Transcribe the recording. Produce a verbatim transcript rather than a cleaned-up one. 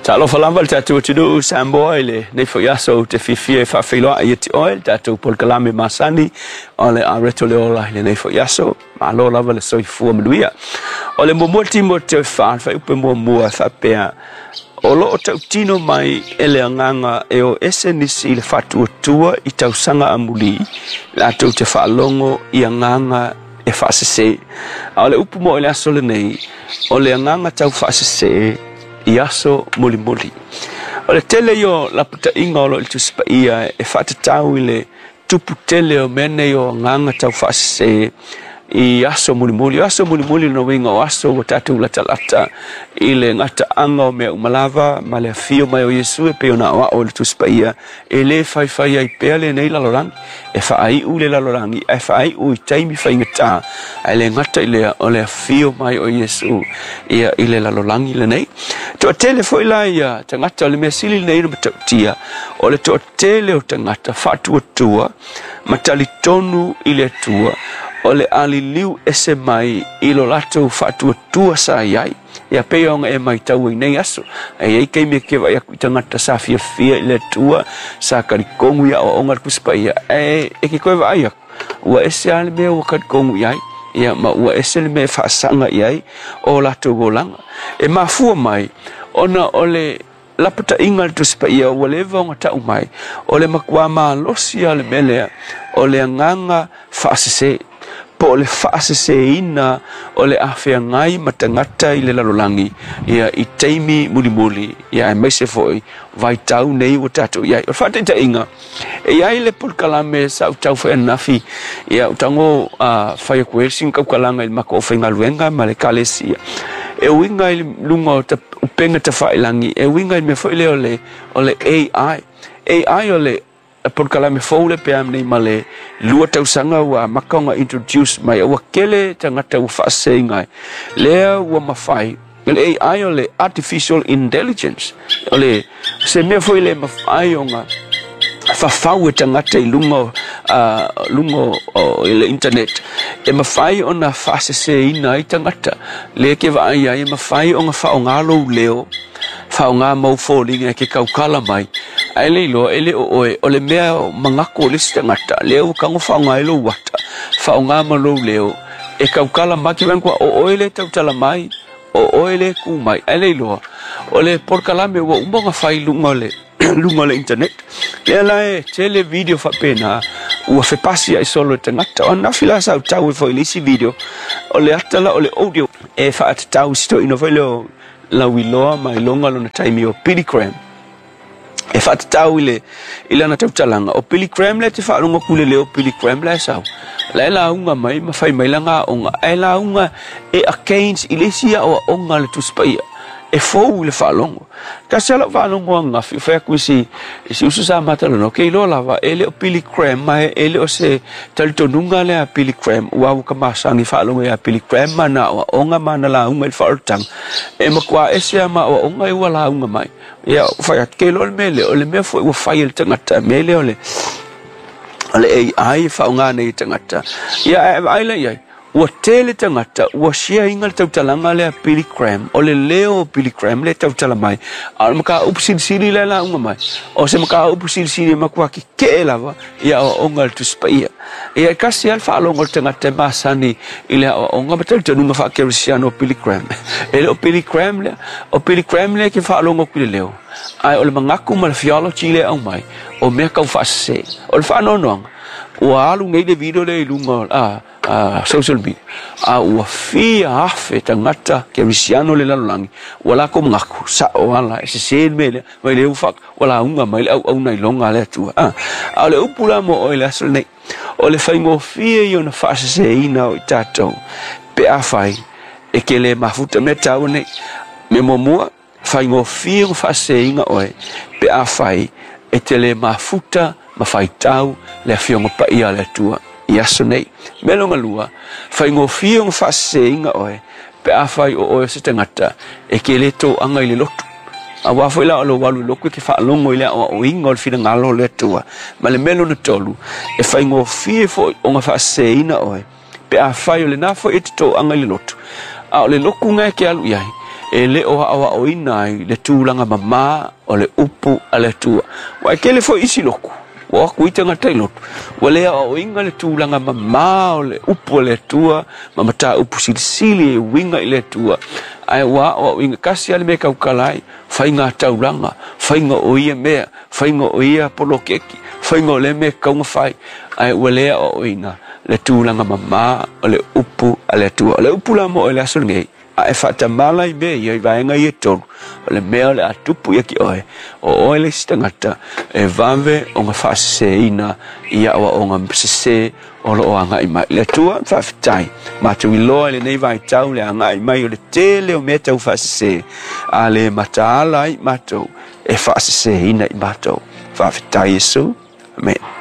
Talofa lava le tatou atunuu Samoa i lenei foi aso ou te fiafia e faafeiloai ia te oe le tatou polokalame masani o le Areto le Ola i lenei foi aso. Malo lava le soifua manuia. O le muamua Timoteo fa le fuaiupu muamua e faapea, o loo tautino mai e le agaga e o ese nisi i le faatuatua i tausaga amuli latou te faalogo i agaga e faasese. A o le upu mo i le aso lenei, o le agaga tau faasese i aso mulimuli. O le tele ia o lapataiga o loo i le Tusi Paia e faatatau i le tupu tele o mea nei o agaga tau faasese i aso mulimuli. O aso mulimuli lona uiga o aso ua tatou latalata i le gataaga o mea uma lava ma le afio mai o Iesu e pei ona aoao i le Tusi Paia e lē faifai ai pea lenei lalolagi. E faaiu le lalolagi ae faaiu i taimi faigata, ae le gata i lea o le afio mai o Iesu ia i le lalolagi lenei. Toatele foi la ia tagata o le mea sili lenei na matautia, o le toatele o tagata faatuatua ma talitonu i le Atua o le aliliu ese mai i lo latou faatuatua sa iai. Ia pei ona e matau ai nei aso. E iai taimi e ke vaai aku i tagata sa fiafia i le Atua, sa kalikogu i aoaoga le Tusi Paia, ae e ke koe vaai aku, ua ese lava le mea ua kalikogu i ai, ia ma ua ese le mea e faasaga i ai o latou olaga. E mafua mai ona o le lapataiga le Tusi Paia ua leva ona tau mai, o le matua malosi lava o le mea lea, o le agaga faasese, po o le faaseseina o le afeagai ma tagata i le lalolagi ia i taimi mulimuli, ia aemaise foi vaitau nei ua tatou iai. O le faataitaiga, e iai le polokalame sa ou tau fai ananafi, ia ou tago uh, fai atu ai sina tautalaga i le matou aufaigaluega ma le ekalesia. E uiga i luga o ta, upega tafailagi, e uiga i le mea foi lea o le, o le A I. A I o le polokalame fou le pe nei ma le lua tausaga ua amata ona introduce mai, ua tele tagata ua faaseseina ai. Lea ua mafai, le A I o le Artificial Intelligence, o le se mea foi le mafai ona fafau e tagata i luga o, uh, luga o, i le internet, e mafai ona faaseseina ai tagata. Lea ke vaai ai, e mafai ona faaaoga lou leo, faaaoga mau foliga e ke taukala mai, ae le iloa e le o oe, o le mea manatu o le isi tagata, lea ua tago faaaoga ai lou ata, faaaoga ma lou leo, e taukala mai, ke vaai o oe le tautala mai, o oe le ku mai, ae le iloa, o le polokalame ua uma ona fai luga o le luga o le internet. Lea la e tele video faapena ua fepasi ai solo e tagata. O ananafi la sa ou tau ai foi i le isi video, o le ata la o le audio e faatatau i si toeaina foi lea o lauiloa ma iloga lona taimi o Billy Graham. E faatatau i le i lana tautalaga o Billy Graham lea te faalogo atu i le leo o Billy Graham la e sau. La e lauga mai ma fai mai lana aoga, ae lauga e against i le isi aoaoga a le Tusi Paia. E fou i le faalogo. Tasi lava lau faalogo ananafi, o fai atu i si, i si uso sa matalanoa, ke iloa lava, e le o Billy Graham, ma e le o se talitonuga lea a Billy Graham, ua ua ka masani faalogo ia Billy Graham ma na aoaoga ma na lauga i le faaolataga. E matua ese lava ma aoaoga e ua lauga mai. Ia, fai atu, ke iloa le mea lea, o le mea foi ua fai e le tagata, mea lea o le, o le A I e faaaoga nei e tagata. Ia, ae vaai la i ai, ua tele tagata, ua share ina le tautalaga lea Billy Graham, o le leo o Billy Graham le tautala mai, a o le mataupu silisili lea lauga mai, o se mataupu silisili e matua kekee lava i aoaoga a le Tusi Paia. Ia e tasi lava le faalogo o le tagata e masani i le aoaoga ma talitonuga faakerisiano o Billy Graham. E le o Billy Graham lea, o Billy Graham lea ke faalogo atu i le leo, ae o le manatu ma le theology lea aumai, o mea tau faasese. O le faanoanoaga, ua alu nei le video lea i luga a uh, social media, a ua fia afe tagata kerisiano le lalolagi, ua latou manatu sao ala e sese le mea lea, mai le ua ua lauga mai le auauna iloga a le Atua. A, a o le upu la mo oe i le aso lenei, o le faigofie ia ona faaseseina o i tatou, pe afai e ke le mafuta mea taua nei. Mea muamua, faigofie ona faaseseina oe, pe afai e te le mafuta ma faitau le afioga paia a le Atua i aso nei. Mea lona lua, faigofie ona faaseseina oe, pe afai o oe o se tagata e ke le toaga i le lotu. Auā foi la o lou alu i lotu e ke faalogo i le aoaoina o le finagalo o le Atua. Ma le mea lona tolu, e faigofie foi ona faaseseina oe, pe afai o lena foi e te toaga i le lotu, a o le lotu ga e ke alu i ai, E le o aoaoina ai le tulaga mamā o le upu a le Atua. Ua e tele foi isi lotu, ua o atu ai tagata i lotu, ua le aoaoina le tulaga mamā o le upu a le Atua ma mataupu silisili e uiga i le Atua, ae ua aoaoina tasi lava le mea e tautala ai, faiga taulaga, faiga o ia mea, faiga o ia poloketi, faiga o lea mea e tatau ona fai, ae ua le aoaoina le tulaga mamā o le upu a le Atua. O le upu la mo oe i le aso lenei, a e faatamala i mea ia i vaega ia e tolu, o le mea o le a tupu ia ki oe, o oe le isi tagata e vave ona faaseseina i aoaoga sese o loo agai mai. Le Atua, faafetai, matou iloa i lenei vaitau le agai mai o le tele o mea tau faasese, a le mataala ai matou e faaseseina i matou. Faafetai Iesu. Amen.